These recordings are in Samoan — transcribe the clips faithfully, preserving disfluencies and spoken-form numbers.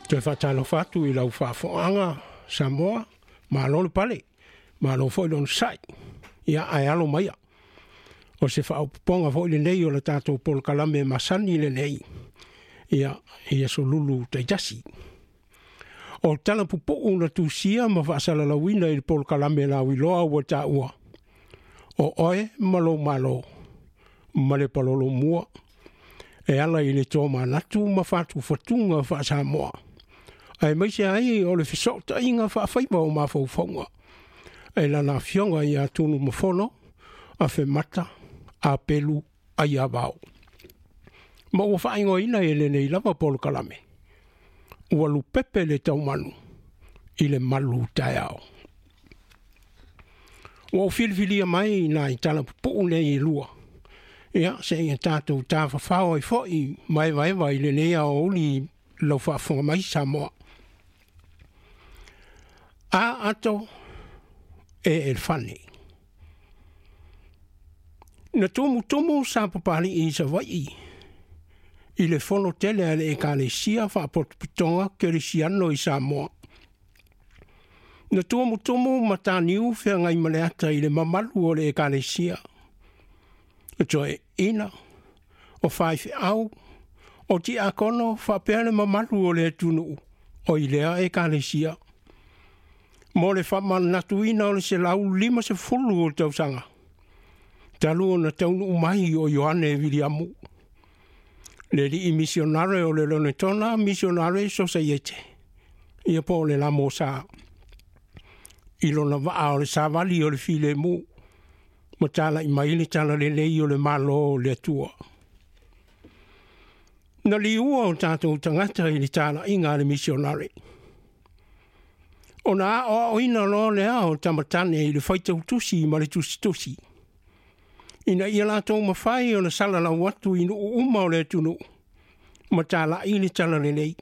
Toe faatalofa atu i lau faafogaga Samoa, malo le pale, malo foi le onosai, ia ae alo maia. O se faaopoopoga foi lenei o le tatou polokalame masani lenei, ia, i aso Lulu taitasi. O tala pupuu na tusia ma faasalalauina i le polokalame lauiloa ua taua, o oe ma lou malo, ma le palolomua, e ala i le tomanatu ma fatufatuga faa-Samoa, aemaise ai o le fesootaiga faafaiva o mafaufauga, e lana afioga ia Tunumafono, Afemata, Apelu, Aiavao. Ma ua faaigoaina e lenei lava polokalame, ua lupepe le taumanu i le malu taeao. Ua ou filifilia mai nai tala pupuu nei e lua, ia seia tatou tafafao ai foi maevaeva i lenei aoauli lau faafofoga mai Samoa. A ato e elefane. Na tumutumu sa papali'i i Savaii i le fono tele a le Ekalesia Faapotopotoga Kerisiano i Samoa. Na tumutumu mataniu feagaimaleata i le mamalu o le Ekalesia. Toeaiina, o faifeau, o tiakono faapea le mamalu o le atunuu o i lea Ekalesia. Mo le faamanatuina o le selau limasefulu o tausaga, talu ona taunuu mai o Ioane Viliamu, le alii misionare o le Lonetona Misionare Sosaiete, ia po o le Lamosa, i lona vaa o le savali o le filemu, ma talai mai le talalelei o le Malo o le Atua. Na liua o tatou tagata i le talaiga a le misionare. Ona aoaoina loa lea o tamatane i le faitautusi ma le tusitusi, ina ia latou mafai ona salalau atu i nuu uma o le atunuu, ma talai le talalelei.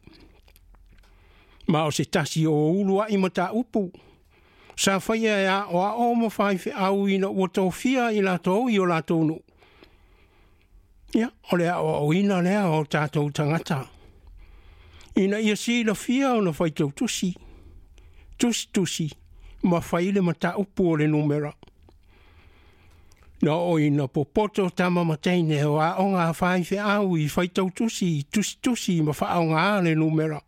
Ma o se tasi o uluai mataupu, sa faia e aoao ma faifeau ina ua tofia i latou i o latou nuu. Ia, o le aoaoina lea o tatou tagata, ina ia silafia ona faitautusi, tusitusi, ma fai le mataupu o le numera. Na oo ina popoto tama ma teine o aoga a faifeau i faitautusi, tusitusi ma faaaoga le numera.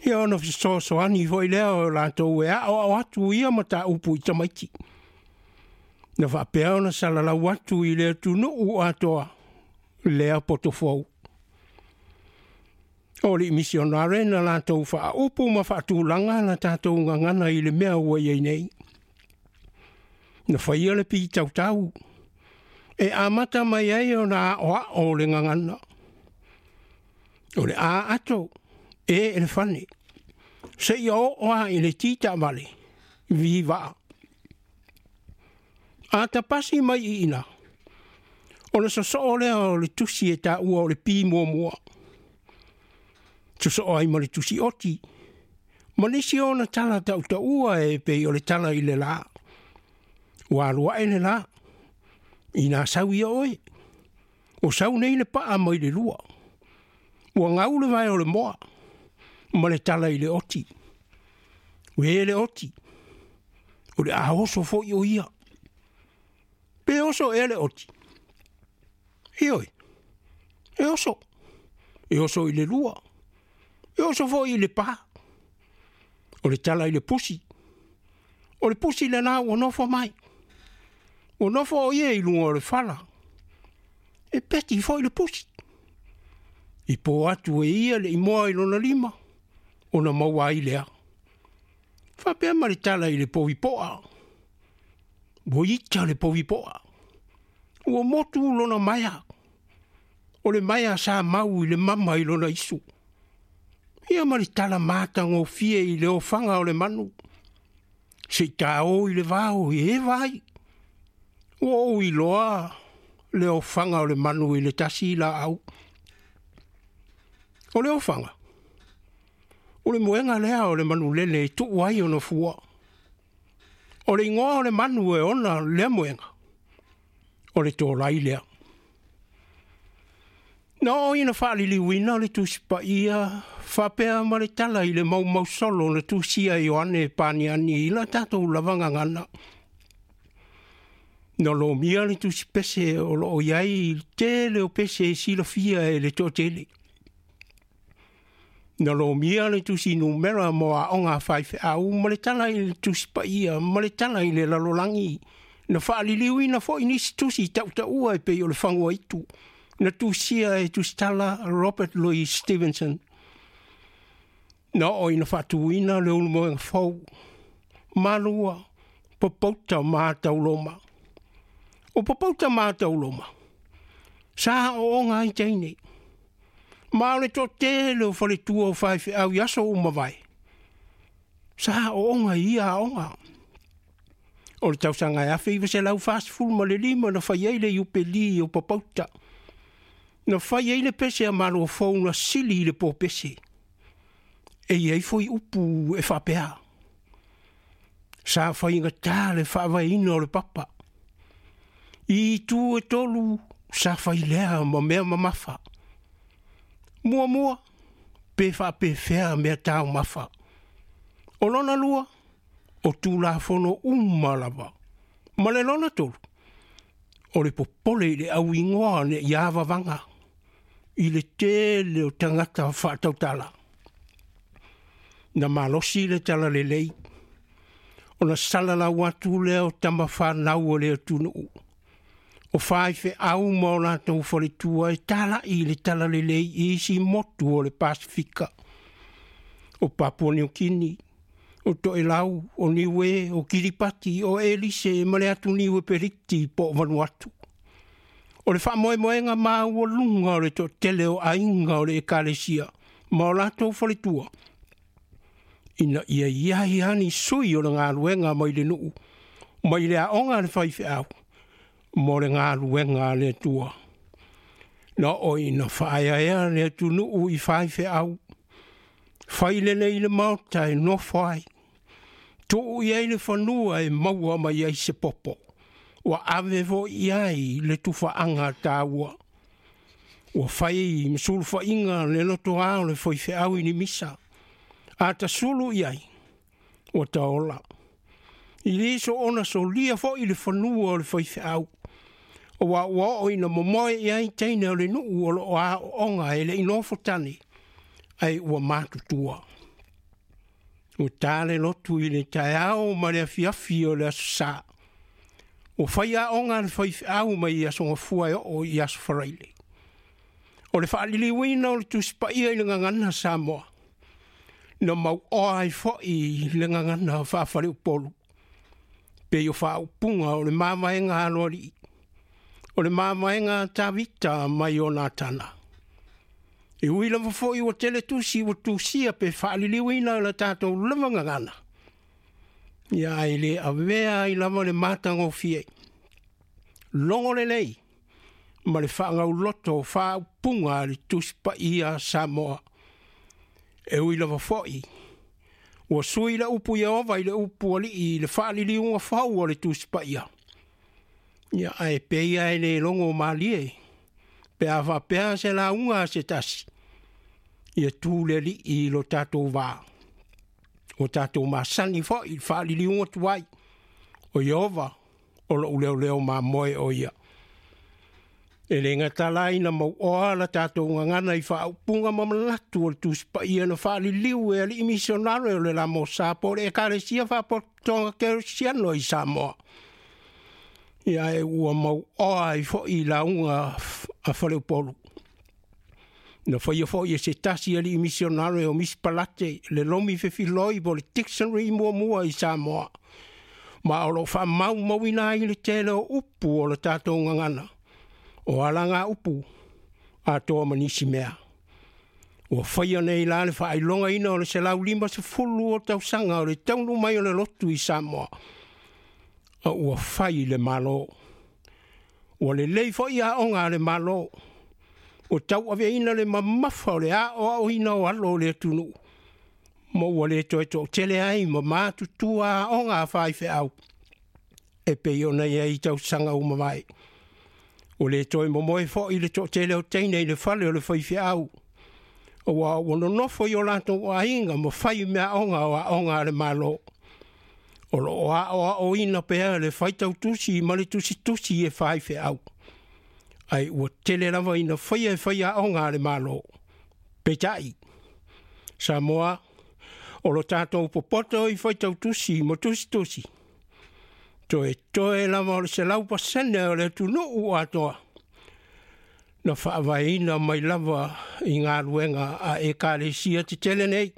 Ia ona fesoasoani foi lea o latou e aoao atu ia mataupu i tamaiti. Na faapea ona salalau atu i le atunuu atoa lea potofou. O le misionare na latou faaupu ma faatulaga la tatou gagana i le mea ua i ai nei. Na faia le pitautau, e amata mai ai ona aoao le gagana. O le a ato, e elefane, seia oo lava i le ti taavale, vi vaa. A tapasi mai i ina, ona sosoo lea o le tusi e taua o le pi muamua. Sosoo ai ma le tusi oti, ma nisi ona tala tautaua e pei o le tala i le la. Ua alu ae le la, ina sau ia oe, o sau nei le paa mai le lua. Ua gau le vae o le moa, ma le tala i le oti. Ue le oti, o le a oso foi o ia. Pe oso ea le oti? Ioe, e oso. E oso i le lua. E oso foi i le pa. O le tala i le pusi. O le pusi lena ua nofo mai. Ua nofo o ia i luga o le fala. E peti foi le pusi. I po atu e ia le imoa i lona lima, ona maua ai lea. Faapea ma le tala i le povipoa. Ua ita le povipoa. Ua motu lona maea. O le maea sa mau i le mama i lona isu. Ia ma le tala matagofie i le ofaga o le manu. Se i taō i le vao e eva ai. Ua ou iloa le ofaga o le manu i le tasi laau. O le ofaga, o le moega lea o le manulele e tuu ai ona fua. O le igoa o le manu e ona lea moega, o le tolai lea. Na oo ina faaliliuina le Tusi Paia faapea ma le tala i le maumausolo na tusia e Ioane Paniani i la tatou lava gagana. Na lomia le tusi pese o loo i ai le tele o pese e silafia e le toatele. Na lomia le tusi numera mo aoga a faifeau ma le tala i le Tusi Paia ma le tala i le lalolagi. Na faaliliuina foi nisi tusi tautaua e pei o le Faguaitu na tusia e tusitala Robert Louis Stevenson. Na oo ina faatuina le ulumoega fou, Malua, Popouta ma Tauloma. O Popouta ma Tauloma, sa aooga ai teine. Ma o le toatele o faletua o faifeau i aso ua mavae, sa aooga i ia aoga. O le tausaga e afe iva selau fasefulu ma le lima na fai ai le iupeli o Popouta. Na fai ai le pese a Malo fou na sili i le pōpese. E i ai foi upu e faapea. Sa faigatā le faavaeina o le papa. I itu e tolu sa fai lea ma mea mamafa. Muamua, pe faapefea mea taumafa. O lona lua, o Tulafono uma lava. Ma le lona tolu, o le popole i le auigoa ne'i avavaga i le tele o tagata faatautala. Na malosi le talalelei, ona salalau atu lea o tama fanau o le atunuu. O faifeau ma o latou faletua e tala'i i le talalelei i isi motu o le Pasifika. O Papua Niu Kini, o Toelau, o Niue, o Kiripati, o Elise ma le atuniu e Periti po o Vanuatu. O le faamoemoega maualuga o le toatele o aiga o le ekalesia ma o latou faletua, ina ia i ai lava ni sui o le galuega mai le nuu, mai le aoga a le faifeau, mo le galuega a le Atua. Na oo ina faaeaea le atunuu i faifeau, fai lelei le maota e nofo ai, tuu i ai le fanua e maua mai ai se popo, ua ave foi i ai le tufaaga taua. Ua fai ma sulufaiga le lotoa o le faifeau i ni misa, a tasulu i ai, ua taola. I le soona solia foi le fanua o le faifeau, aua ua oo ina momoe i ai teine o le nuu o loo aooga e le i nofo tane, ae ua matutua. Ua ta le lotu i le taeao ma le afiafi o le aso Sa. Ua fai aoga le faifeau mai i aso Gafua e oo i aso Faraile. O le faaliliuina o le Tusi Paia i le gagana Samoa, na mauoa ai foi le gagana faafaleupolu, pei o faaupuga o le mavaega aloalii, o le mavaega Tavita mai o Natana. E ui lava foi ua tele tusi ua tusia pe faaliliuina le tatou lava gagana, ia ae le avea ai lava le matagofie. Logo lelei ma le faagauloto o faaupuga a le Tusi Paia Samoa. E ui lava foi ua sui le upu Ieova i le upu alii i le faaliliuga fou o le Tusi Paia. Ia ae pei e le logo malie, pe a faapea se lauga a se tasi, ia tu le alii i lo tatou va. O tatou masani foi i le faaliliuga tuai, o Ieova o lou leoleo mamoe o ia. E le gata la ina mauoa la tatou gagana i faaupuga ma manatu o le Tusi Paia na faaliliu e alii misionare o le Lamosa po o le Ekalesia Faapotopotoga Kerisiano i Samoa. Ia e ua mauoa ai foi lauga a Faleupolu. Na faia foi e se tasi alii misionare o Miss Palate le lomi fefiloi po o le dictionary muamua i Samoa. Ma o loo faamaumauina ai le tele o upu o le tatou gagana. O alaga upu atoa ma nisi mea. Ua faia nei la le faailogaina o le selau lima sefulu o tausaga o le taunuu mai o le lotu i Samoa. A ua fai le Malo. Ua lelei foi aoga a le Malo. Ua tauaveina le mamafa o le aoaoina o alo o le atunuu. Ma ua le toe toatele ai ma matutua aoga a faifeau, e pei ona i ai tausaga ua mavae. Ua le toe momoe fo'i le to'atele o teine i le fale o le faifeau, auā ua nonofo i o latou aiga ma fai meaaoga o aoga a le Malo. O loo aoaoina pea le faitautusi ma le tusitusi e faifeau, ai ua tele lava ina faia e faiaoga a le Malo. Peitai, Samoa, o lo tatou popoto i faitautusi ma tusitusi, toetoe lava o le selau pasene o le atunuu atoa na faavaeina mai lava i galuega a ekalesia tetele nei.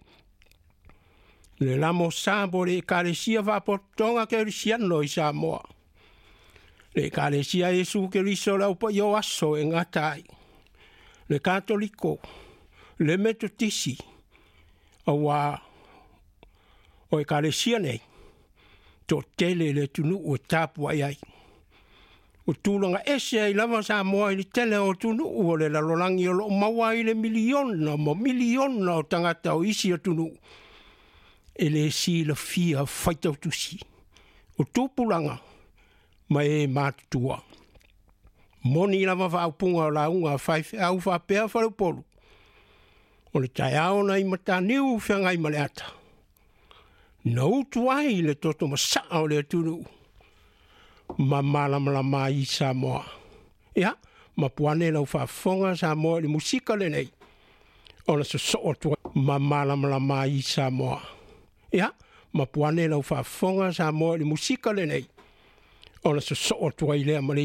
Le lamo sa po le ekalesia faapotopotoga kerisiano i Samoa, le ekalesia Iesu Keriso le aupaia o aso e gata ai, le Katoliko, le Metotisi, auā o ekalesia nei to'atele le atunuu e tapua'i ai. Ua tulaga ese ai lava Samoa i le tele o atunuu o le lalolagi o loo maua ai le miliona ma miliona o tagata o isi atunuu e lē silafia faitautusi o tupulaga ma e matutua. Moni lava faaupuga o lauga a faifeau faapea faleupolu, o le taeao na i Mataniu Feagai ma le Ata na utu ai le toto masaa o le atunuu ma malamalama ai Samoa. Ia, mapuane lau faafofoga Samoa i le musika lenei ona sosoo atu ma malamalama ai Samoa. Ia, mapuane lau faafofoga Samoa i le musika lenei ona sosoo atu ai lea ma le